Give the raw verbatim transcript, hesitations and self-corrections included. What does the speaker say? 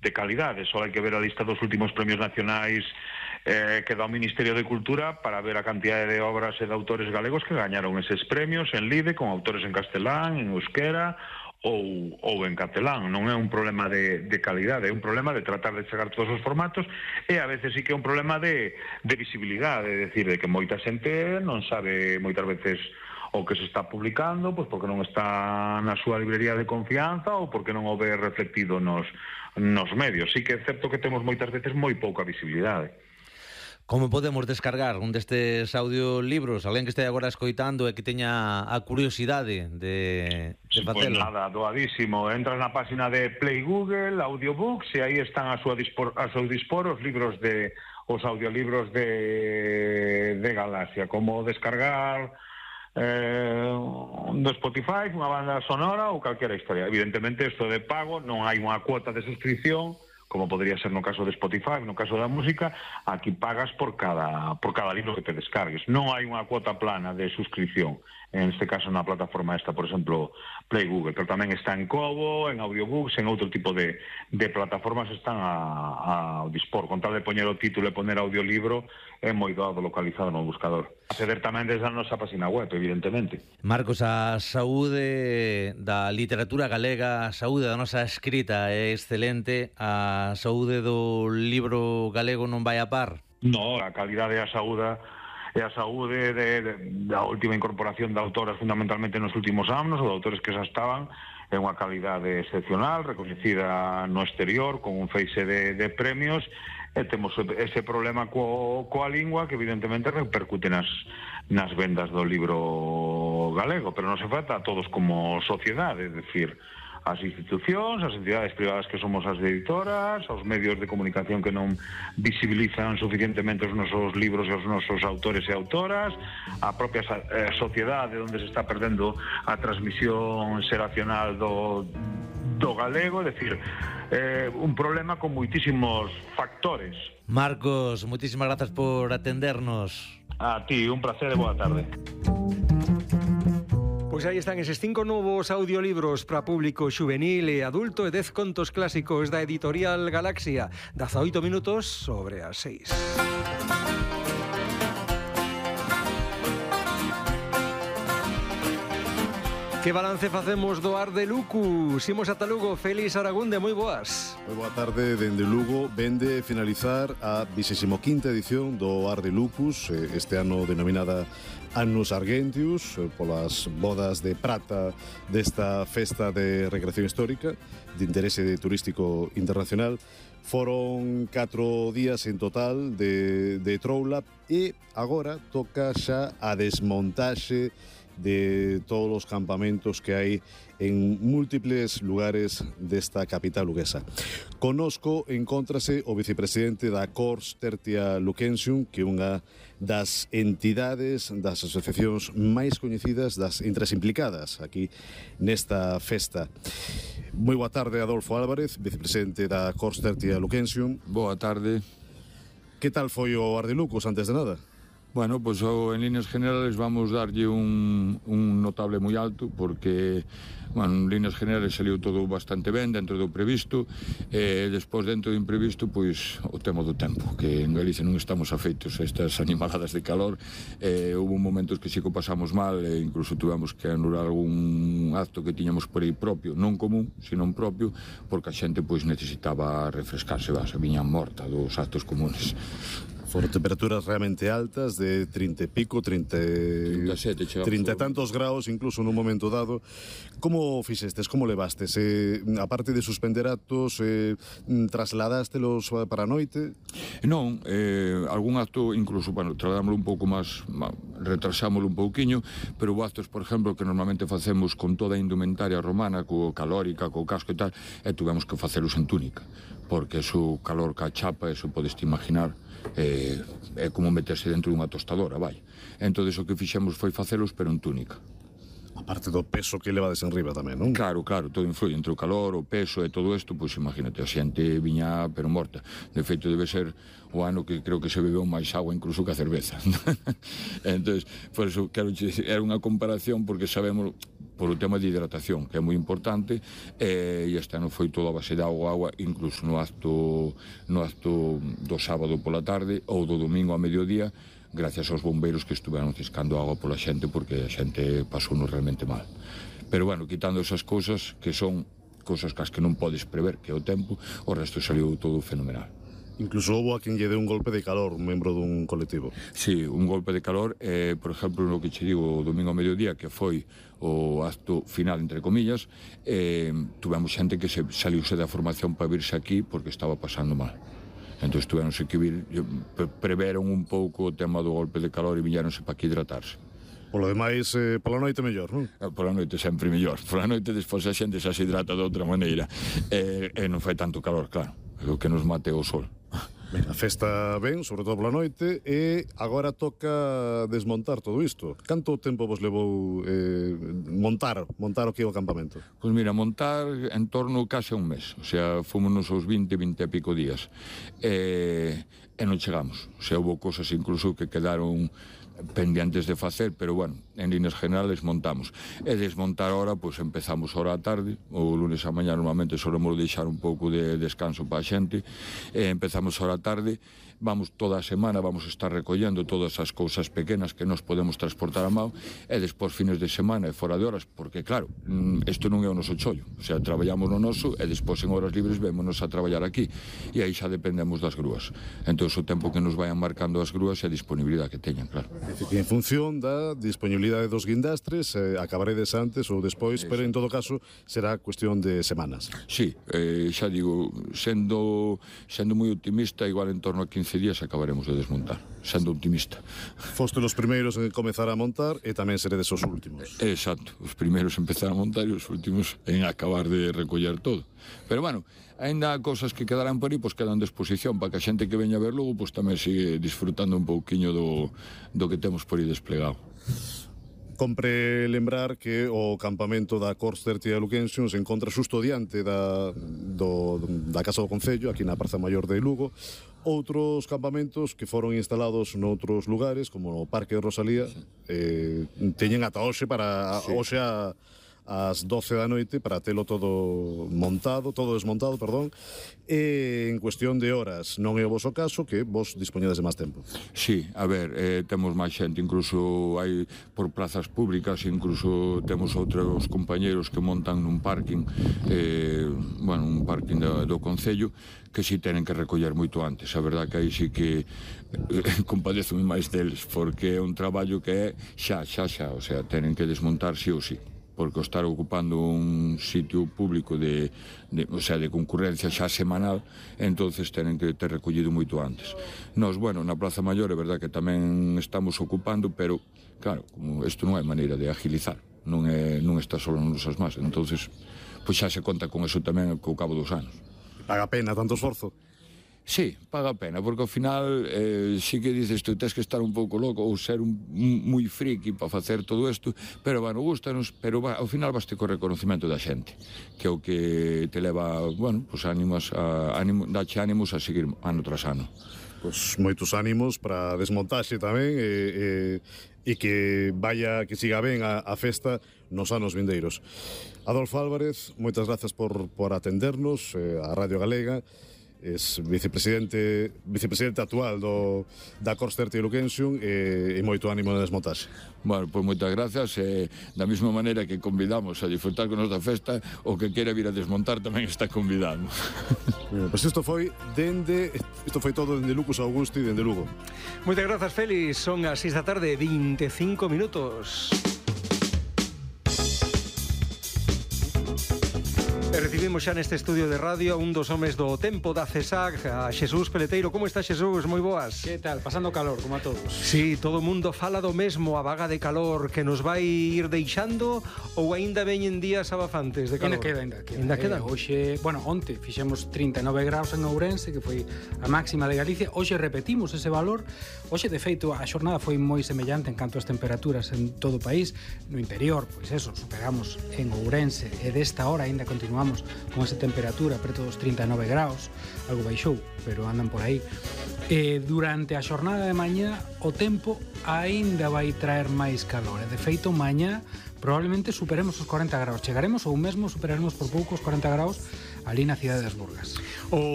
de calidade. Só hai que ver a lista dos últimos premios nacionais eh, que dá o Ministerio de Cultura para ver a cantidade de obras e de autores galegos que gañaron eses premios en Lide, con autores en castelán, en euskera ou, ou en catalán. Non é un problema de, de calidade, é un problema de tratar de chegar todos os formatos, e a veces sí que é un problema de, de visibilidade, é dicir, de que moita xente non sabe moitas veces o que se está publicando, pois porque non está na súa librería de confianza ou porque non o ve reflectido nos, nos medios. Sí que é certo que temos moitas veces moi pouca visibilidade. Como podemos descargar un destes audiolibros? Alguén que este agora escoitando e que teña a curiosidade de, de facelo? Pois nada, doadísimo. Entras na página de Play Google, Audiobooks, e aí están a súa dispor, a seu dispor os libros de os audiolibros de, de Galaxia. Como descargar eh, do Spotify, unha banda sonora ou calquera historia. Evidentemente, isto de pago, non hai unha cuota de suscripción, como podría ser no caso de Spotify, no caso da música. Aquí pagas por cada por cada libro que te descargues. Non hai unha cuota plana de suscripción, en este caso na plataforma esta, por exemplo, Play Google, pero tamén está en Kobo, en Audiobooks, en outro tipo de, de plataformas están a, a dispor. Con tal de poñer o título e poner audiolibro, é moi doado localizado no buscador. Acceder tamén desde a nosa página web, evidentemente. Marcos, a saúde da literatura galega, a saúde da nosa escrita é excelente, a saúde do libro galego non vai a par? No, a calidade e a saúde e a saúde de, de, da última incorporación de autoras fundamentalmente nos últimos anos, ou de autores que xa estaban, é unha calidade excepcional, recoñecida no exterior, con un feixe de, de premios, e temos ese problema co, coa lingua que evidentemente repercute nas, nas vendas do libro galego, pero non se falta a todos como sociedade, é dicir, as institucións, as entidades privadas que somos as editoras, aos medios de comunicación que non visibilizan suficientemente os nosos libros e os nosos autores e autoras, a propia eh, sociedade onde se está perdendo a transmisión xeracional do, do galego, é dicir, eh, un problema con moitísimos factores. Marcos, moitísimas grazas por atendernos. A ti, un placer e boa tarde. Pois aí están eses cinco novos audiolibros para público xuvenil e adulto e dez contos clásicos da editorial Galaxia. dezaoito minutos sobre as seis. Que balance facemos do Ar de Lucu? Simos ata Lugo, Félix Aragunde, moi boas. Moi boa tarde, dende Lugo. Vende finalizar a vigésima quinta edición do Ar de Lucus, este ano denominada Annus Argentius, polas bodas de prata desta festa de recreación histórica de interese turístico internacional. Foron catro días en total de, de troula e agora toca xa a desmontaxe de todos os campamentos que hai en múltiples lugares desta capital luguesa. Conosco encóntrase o vicepresidente da Cors Tertia Lucensium, que é unha das entidades, das asociacións máis coñecidas, das entre as implicadas aquí nesta festa. Moi boa tarde, Adolfo Álvarez, vicepresidente da Cors Tertia Lucensium. Boa tarde. Que tal foi o Ar de Lucus, antes de nada? Bueno, pues en líneas generales vamos darlle un, un notable moi alto, porque, bueno, en líneas generales saliu todo bastante ben dentro do previsto, e despois dentro do imprevisto, pois o tema do tempo, que en Galicia non estamos afeitos a estas animaladas de calor, e houve momentos que sí que pasamos mal, e incluso tuvemos que anular algún acto que tiñamos por aí propio, non común, sino propio, porque a xente pois necesitaba refrescarse, vas, viñan morta dos actos comunes. Foron temperaturas realmente altas, de trinta e pico, trinta, trinta e tantos graus, incluso nun momento dado. Como fixestes, como levastes? Eh, aparte de suspender actos, eh, trasladástelos para a noite? Non, eh, algún acto, incluso, bueno, trasladámoslo un pouco máis, retrasámoslo un pouquiño, pero houve actos, por exemplo, que normalmente facemos con toda a indumentaria romana, co calórica, co casco e tal, e tuvemos que facelos en túnica, porque eso calor ca chapa, eso podeste imaginar, é, é como meterse dentro dunha tostadora, vai. Entón, o que fixemos foi facelos, pero en túnica. A parte do peso que levades en riba tamén, non? Claro, claro, todo influye, entre o calor, o peso e todo isto, pois imagínate, a xente viña pero morta. De feito, debe ser o ano que creo que se bebeu máis agua incluso que a cerveza. Entón, por eso, quero dicir, era unha comparación porque sabemos por o tema de hidratación, que é moi importante, e este ano foi todo a base de agua, agua, incluso no acto, no acto do sábado pola tarde ou do domingo a mediodía, gracias aos bombeiros que estuveron ciscando agua pola xente, porque a xente pasou realmente mal. Pero, bueno, quitando esas cousas, que son cousas que as que non podes prever, que é o tempo, o resto saliu todo fenomenal. Incluso houve a quen lle deu un golpe de calor, un membro dun colectivo. Sí, un golpe de calor, eh, por exemplo, no que che digo o domingo a mediodía, que foi o acto final, entre comillas, eh, tuvemos xente que se saliuse da formación para virse aquí porque estaba pasando mal. Entón, tuveronse que vir, preveron un pouco o tema do golpe de calor e viñeronse para aquí hidratarse. Polo demais, eh, pola noite mellor, non? Pola noite sempre mellor. Pola noite despois a xente xa se hidrata de outra maneira. E, e non fai tanto calor, claro. O que nos mate o sol. Ben, a festa ben, sobre todo pola noite, e agora toca desmontar todo isto. Canto tempo vos levou eh, montar montar o que é o campamento? Pois mira, montar en torno case a un mes. O sea, fomos aos vinte, vinte e pico días. E, e non chegamos. O sea, houve cosas incluso que quedaron pendientes de facer, pero bueno, en líneas generales montamos. E desmontar ahora, pois empezamos ahora a tarde, o lunes a mañá normalmente solemos deixar un pouco de descanso para a xente, e empezamos ahora a tarde, vamos toda a semana, vamos a estar recollendo todas as cousas pequenas que nos podemos transportar a mão, e despois fines de semana e fora de horas, porque claro, isto non é o noso chollo, o sea, traballamos no noso e despois en horas libres vémonos a traballar aquí, e aí xa dependemos das grúas. Entón, o tempo que nos vayan marcando as grúas e a disponibilidade que teñan, claro. En función da disponibilidade dos guindastres, eh, acabaredes antes ou despois, sí, pero en todo caso será cuestión de semanas. Sí, eh, xa digo, sendo sendo moi optimista, igual en torno a quince días acabaremos de desmontar, sendo optimista. Foste os primeiros en comezar a montar e tamén seredes os últimos. Exacto, os primeiros en empezar a montar e os últimos en acabar de recoller todo. Pero bueno, ainda cosas que quedarán por aí, pois quedan de exposición para que a xente que veña a ver logo pois tamén sigue disfrutando un pouquiño do, do que temos por aí desplegado. Compre lembrar que o campamento da Corster Tía Luquensium se encontra xusto diante da, do, da Casa do Concello, aquí na Praza Maior de Lugo. Outros campamentos que foron instalados noutros lugares, como no Parque de Rosalía, sí. eh, teñen ata hoxe para sí. hoxe a ás doce da noite para telo todo montado, todo desmontado, perdón, e en cuestión de horas. Non é o voso caso, que vos dispoñedes de máis tempo. Sí, a ver, eh, temos máis xente, incluso hai por plazas públicas, incluso temos outros compañeros que montan nun parking, eh, bueno, un parking do, do Concello, que si tenen que recoller moito antes. A verdad que aí sí que eh, compadezo máis deles, porque é un traballo que é xa, xa, xa, o sea, tenen que desmontar sí ou sí, porque estar ocupando un sitio público de, de, o sea, de concurrencia xa semanal, entonces tenen que ter recollido moito antes. Nos, bueno, na Praza Maior é verdad que tamén estamos ocupando, pero, claro, como isto non hai maneira de agilizar, non, é, non está solo nos nosas más, entonces, pois xa se conta con eso tamén co cabo dos anos. Paga pena tanto esforzo? Sí, paga a pena, porque ao final eh, sí que dices, tú tens que estar un pouco loco ou ser un, un, moi friki para facer todo isto, pero, bueno, gustanos, pero va, ao final baste co reconocimento da xente, que é o que te leva, bueno, pues ánimos a, ánimo, dache ánimos a seguir ano tras ano. Pois moitos ánimos para desmontaxe tamén e, e, e que vaya, que siga ben a, a festa nos anos vindeiros. Adolfo Álvarez, moitas grazas por, por atendernos eh, a Radio Galega. Es vicepresidente vicepresidente actual do, da Corster Tía Luquensium e, e moito ánimo na desmontaxe. Bueno, pois moitas gracias e da mesma maneira que convidamos a disfrutar con nosa festa, o que quere vir a desmontar tamén está convidado. Bueno, pois isto foi dende isto foi todo dende Lucus Augusti e dende Lugo. Moitas grazas, Félix. Son as seis da tarde, veinticinco minutos. E recibimos xa neste estudio de radio a un dos homes do tempo da CESAC, a Xesús Peleteiro. Como está, Xesús? Moi boas. Que tal? Pasando calor, como a todos. Sí, todo o mundo fala do mesmo, a vaga de calor que nos vai ir deixando, ou aínda veñen días abafantes de calor? Ainda queda, ainda queda. Ainda queda? Eh, hoxe, bueno, onte fixemos trinta e nove graus en Ourense, que foi a máxima de Galicia. Hoxe repetimos ese valor. Hoxe, de feito, a xornada foi moi semellante en canto ás temperaturas en todo o país. No interior, pois eso, superamos en Ourense, e desta hora aínda continuamos con esa temperatura preto dos trinta e nove graus, algo baixou, pero andan por aí. E durante a xornada de mañá o tempo aínda vai traer máis calor, e de feito mañá probablemente superemos os cuarenta graus, chegaremos ou mesmo superaremos por pouco os cuarenta graus ali na cidade das Burgas. O